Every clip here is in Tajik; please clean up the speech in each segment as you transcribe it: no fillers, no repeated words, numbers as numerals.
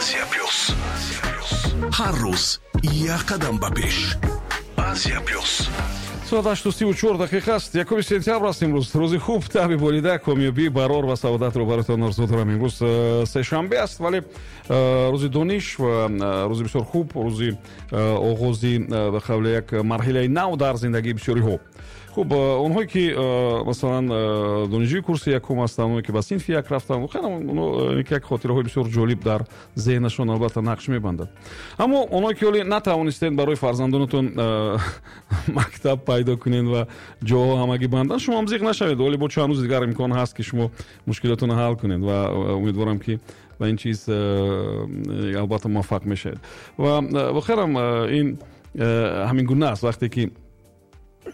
Азия Плюс. Ҳар рӯз як қадам ба пеш. Азия Плюс. Соат 8:34 аст. 1 сентябр аст имрӯз. Рӯзи хуб, таби болида, комёбӣ, барор ва саодатро бароятон орзу дорам. Имрӯз сешанбе аст, вале рӯзи дониш ва рӯзи бисёр хуб, рӯзи оғози, ба қавле, як марҳилаи нав дар зиндагии бисёриҳо. Хуб, онҳое ки, масалан, донишҷӯи курси якум ҳастанд, онҳое ки ба синфи як рафтанд, воқеан як хотираҳои бисёр ҷолиб дар зеҳнашон албатта нақш мебандад. Аммо онҳое ки ҳоле натавонистед барои фарзандонатон мактаб пайдо кунед ва ҷоҳо ҳамагӣ банданд, шумо ҳам зиқ нашавед. Вале бо чанд рӯзи дигар имкон ҳаст, ки шумо мушкилотонро ҳал кунед, ва умедворам, ки ба ин чиз албатта муваффақ мешавед. Ва воқеан ин ҳамин гуна аст: вақте ки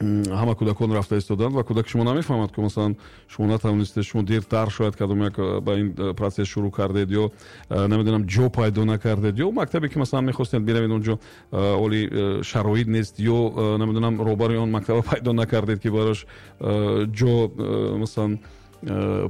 ҳама кӯдакон рафта истоданд ва кӯдаки шумо намефаҳмад, ки, масалан, шумо натавонистед, шумо дертар шояд кадом як ба ин процесс шурӯъ кардед ё, намедонам, ҷо пайдо накардед, ё мактабе ки, масалан, мехостед биравед, онҷо оли шароит нест, ё, намедонам, роҳбари он мактаба пайдо накардед, ки барош ҷо, масалан,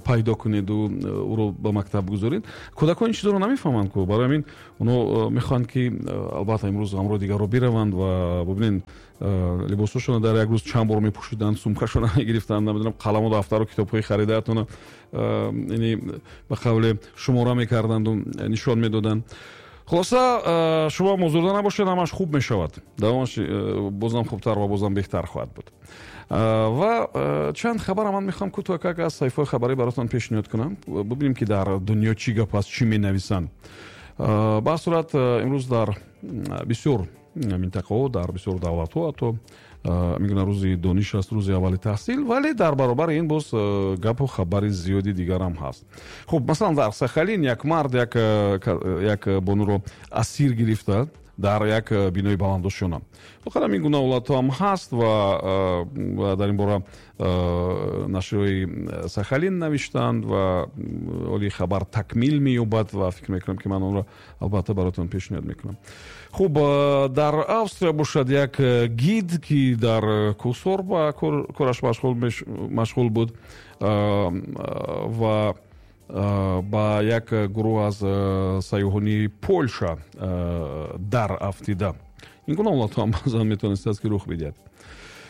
пайдо кунеду ӯро ба мактаб гузоред. Кӯдакон ин чизоро намефаҳманд ку. Барои ҳамин онҳо мехоҳанд, ки албатта имрӯз ҳамроҳи дигарро бираванд. Ва бубинед, либосҳошонро дар як рӯз чанд бор мепӯшиданд, сумкашонро мегирифтанд, намедонам, қаламу дафтару китобҳои харидаатонро, яъне, ба қавле, шумора мекарданду нишон медоданд. Хулоса, шумо озурда набошед, ҳамаш хуб мешавад, давомаш бозам хубтар ва бозам беҳтар хоҳад буд. Ва чанд хабара ман мехоҳам кӯтоҳ аз саҳифаҳои хабарӣ баротон пешниҳод кунам, бубинем, ки дар дунё чӣ гап аст, чӣ менависанд. Ба ҳар сурат, имрӯз дар бисёр минтақаҳо, дар бисёр давлатҳо ҳатто мегӯянд, рӯзи дониш аст, рӯзи аввали таҳсил, вале дар баробари ин боз гапу хабари зиёди дигарам ҳаст. Хуб, масалан, дар Сахалин як мард як бонуро асир гирифта дар як бинои баландошёна. Воқеан, ин гуна ҳолатҳо ҳам ҳаст ва дар ин бора нашрияҳои Сахалин навиштанд ва оли хабар такмил меёбад ва фикр мекунам, ки ман онро албатта баротон пешниҳод мекунам. Хуб, дар Австрия бошад, як гид, ки дар кӯҳсор ба кораш машғул буд ва ба як гурӯҳ аз сайёҳони Полша дар афтида. Ин гуна ҳолатҳо ҳам баъзан метавонистааст, ки рух бидиҳад.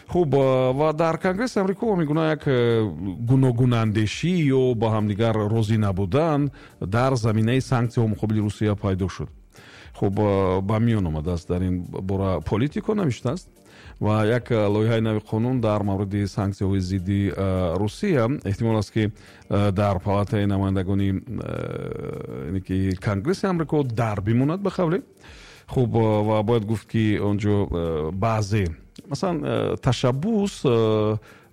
Хуб, ва дар Конгресси Амрико мегуна як гуногунандешӣ ё ба ҳамдигар розӣ набудан дар заминаи санксияҳо муқобили Русия пайдо шуд. Хуб, ба миён омадааст, дар ин бора Политико навиштааст. Ва як лоиҳаи нави қонун дар мавриди санксияҳои зидди Русия эҳтимол аст, ки дар палатаи намояндагони, ки Конгресси Амрико, дар бимонад, ба қавле. Хуб, ва бояд гуфт, ки он ҷо баъзе, масалан, ташаббус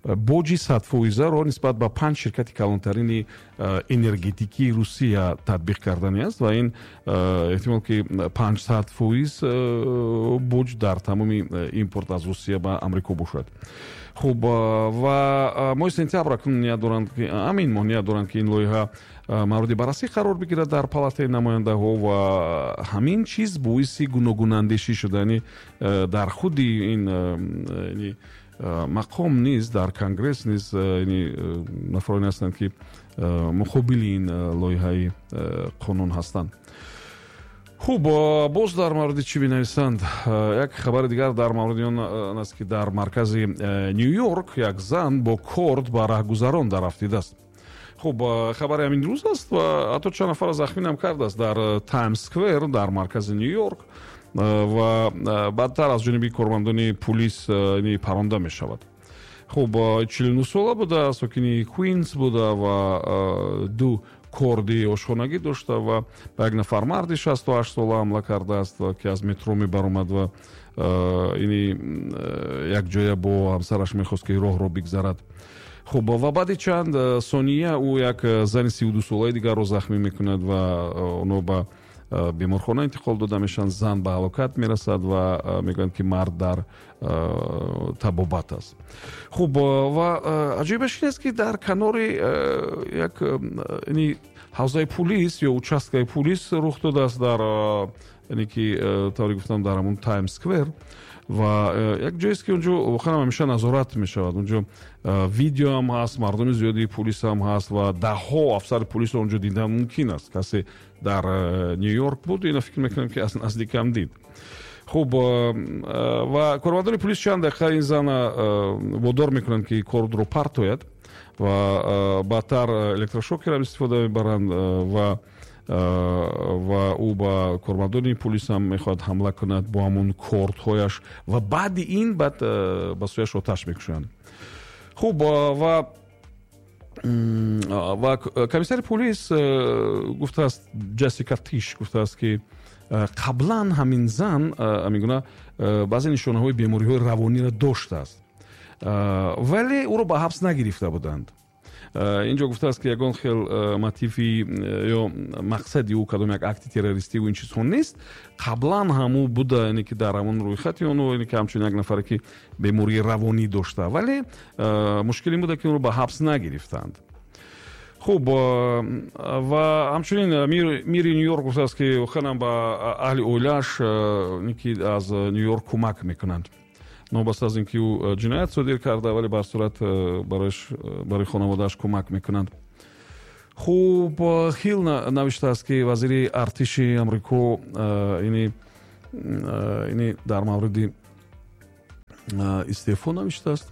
боҷи 100 фоизаро нисбат ба панҷ ширкати калонтарини энергетикии Русия татбиқ кардани аст ва ин эҳтимол, ки 500% боҷ дар тамоми импорт аз Русия ба Амрико бошад. Хуб, ва моҳи сентябр акнун ният доранд, ки ҳамин моҳ ният доранд, ки ин лоиҳа мавриди баррасӣ қарор бигирад дар палатаи намояндаҳо. Ва ҳамин чиз боиси гуногунандешӣ шуда, яъне дар худи ин мақом низ, дар Конгресс низ нафароне ҳастанд, ки муқобили ин лоиҳаи қонун ҳастанд. Хуб, боз дар мавриди чӣ менависанд? Як хабари дигар дар мавриди он аст, ки дар маркази Ню Йорк як зан бо корд ба раҳгузарон дарафтидааст. Хуб, хабари ҳамин рӯз аст ва ҳатто чанд нафарро захминам кардааст дар Таймс Сквер дар маркази Ню Йорк ва баъдтар аз ҷониби кормандони пулис паронда мешавад. Хуб, 49 сола буда, сокини Квинс буда ва ду корди ошхонагӣ дошта ва ба як нафар марди 68 сола ҳамла кардааст, ки аз метро мебаромад ва ини якҷоя бо ҳамсараш мехост, ки роҳро бигзарад. Хуб, ва баъди чанд сония ӯ як зани 32 солаи дигарро захмӣ мекунад ва онҳо ба беморхона интиқол дода мешаванд. Зан ба ҳалокат мерасад ва мегӯянд, ки мард дар табобат аст. Хуб, ва аҷоибаш ин аст, ки дар канори як Ҳавзаи пулис ё участкаи пулис рух додааст дар, яъне ки, тавре гуфтам, дар ҳамун Таймс Сквер ва як ҷоест, ки онҷо воқеан ҳамеша назорат мешавад. Онҷо видеоам ҳаст, мардуми зиёди пулисам ҳаст ва даҳҳо афсари пулисро онҷо дидан мумкин аст. Касе дар Ню Йорк буд, ина фикр мекунам, ки аз наздикам дид. Хуб, ва кормандони пулис чанд дақиқа ин зана водор мекунанд, ки кордро партояд, ва баъдтар электрошокерам истифода мебаранд ва ӯ ба кормандони пулисам мехоҳад ҳамла кунад бо ҳамун кордҳояш ва баъди ин баъд ба сӯяш оташ мекушоянд. Хуб, ва комиссари пулис гуфтааст, Ҷессика Тиш гуфтааст, ки қаблан ҳамин зан ҳамин гуна баъзе нишонаҳои бемориҳои равониро доштааст, вале ӯро ба ҳабс нагирифта буданд. Инҷо гуфтааст, ки ягон хел мотиви ё мақсади ӯ кадом як акти террористиву ин чизҳо нест. Қаблан ҳам ӯ буда, яъне ки дар ҳамон рӯйхати оно, яъне ки ҳамчун як нафаре, ки бемории равонӣ дошта, вале мушкил ин буда, ки ӯро ба ҳабс нагирифтанд. Хуб, ва ҳамчунин мири Ню Йорк гуфтааст, ки воқеан ба аҳли оилааш, ки аз Ню Йорк, кӯмак мекунанд. Новобаста аз ин ки ӯ ҷиноят содир карда, вале ба ҳар сурат барои хонаводааш кӯмак мекунанд. Хуб, Хилл навиштааст, ки вазири артиши Амрико ини дар мавриди истеъфо навиштааст.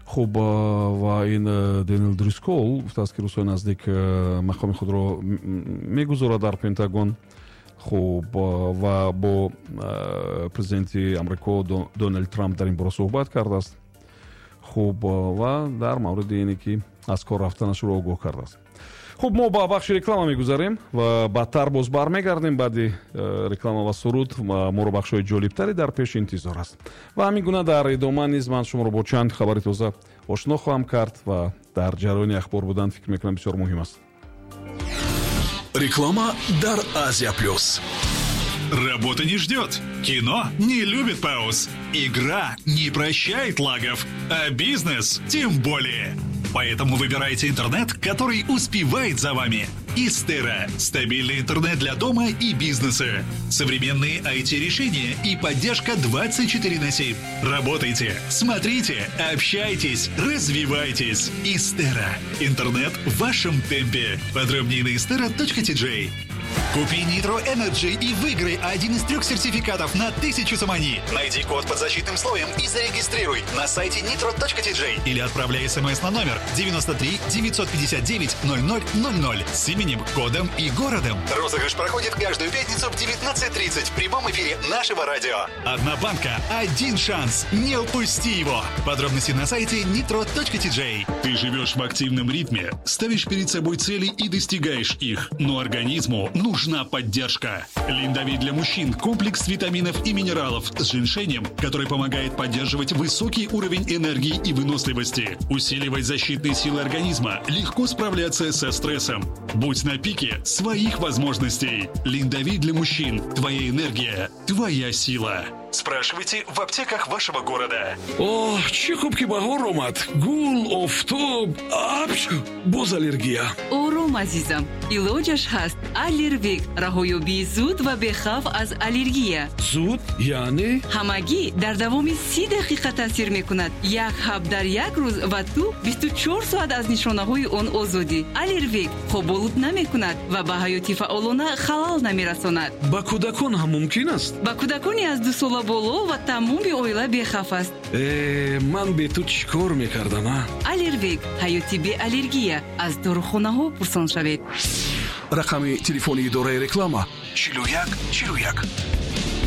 Хуб, ва ин Дэниел Дрискол гуфтааст, ки рӯзҳои наздик мақоми худро мегузорад дар Пентагон. Хуб, ва бо президенти Амрико Доналд Трамп дар ин бора суҳбат кардааст. Хуб, ва дар мавриди ине ки аз кор рафтанашро огоҳ кардааст. Хуб, мо ба бахши реклама мегузарем ва баъдтар боз бармегардем. Баъди реклама ва суруд моро бахшҳои ҷолибтаре дар пеш интизор аст ва ҳамин гуна дар идома низ ман шуморо бо чанд хабари тоза ошно хоҳам кард ва дар ҷараёни ахбор будан, фикр мекунам, бисёр муҳим аст. Реклама дар Азия Плюс. Работа не ждет. Кино не любит пауз. Игра не прощает лагов. А бизнес тем более. Поэтому выбирайте интернет, который успевает за вами. Истера – стабильный интернет для дома и бизнеса. Современные IT-решения и поддержка 24 на 7. Работайте, смотрите, общайтесь, развивайтесь. Истера. Интернет в вашем темпе. Подробнее на istera.tj. Купи Nitro Energy и выиграй один из трех сертификатов на 1000 сомони. Найди код под защитным слоем и зарегистрируй на сайте nitro.tj или отправляй смс на номер 93 959 0000 с именем, кодом и городом. Розыгрыш проходит каждую пятницу в 19.30 в прямом эфире нашего радио. Одна банка, один шанс. Не упусти его. Подробности на сайте nitro.tj. Ты живешь в активном ритме, ставишь перед собой цели и достигаешь их. Но организму нужна поддержка. Линдовит для мужчин – комплекс витаминов и минералов с женьшенем, который помогает поддерживать высокий уровень энергии и выносливости, усиливать защитные силы организма, легко справляться со стрессом. Будь на пике своих возможностей. Линдовит для мужчин. Твоя энергия, твоя сила. Спрашивайте в аптеках вашего города. Оҳ, чӣ хуб, ки баҳор омад! Гул, офтоб, апч, боз аллергия. Ором, азизам, илоҷаш ҳаст. Аллервик – раҳоёбии зуд ва бехавф аз аллергия. Зуд яъне? Ҳамагӣ дар давоми 30 дақиқа таъсир мекунад. Як ҳаб дар як рӯз ва ту 24 соат аз нишонаҳои он озодӣ. Аллервик хоболуд намекунад ва ба ҳаёти фаъолона халал намерасонад. Ба кӯдакон ҳам мумкин аст? Ба кӯдакони аз 2 сола боло ва тамоми оила бехавф аст. Э, ман бе ту чӣ кор мекардам, а? Аллервик – ҳаёти беаллергия. Аз дорухонаҳо пурсон шавед. Рақами телефони идораи реклама: 41 41.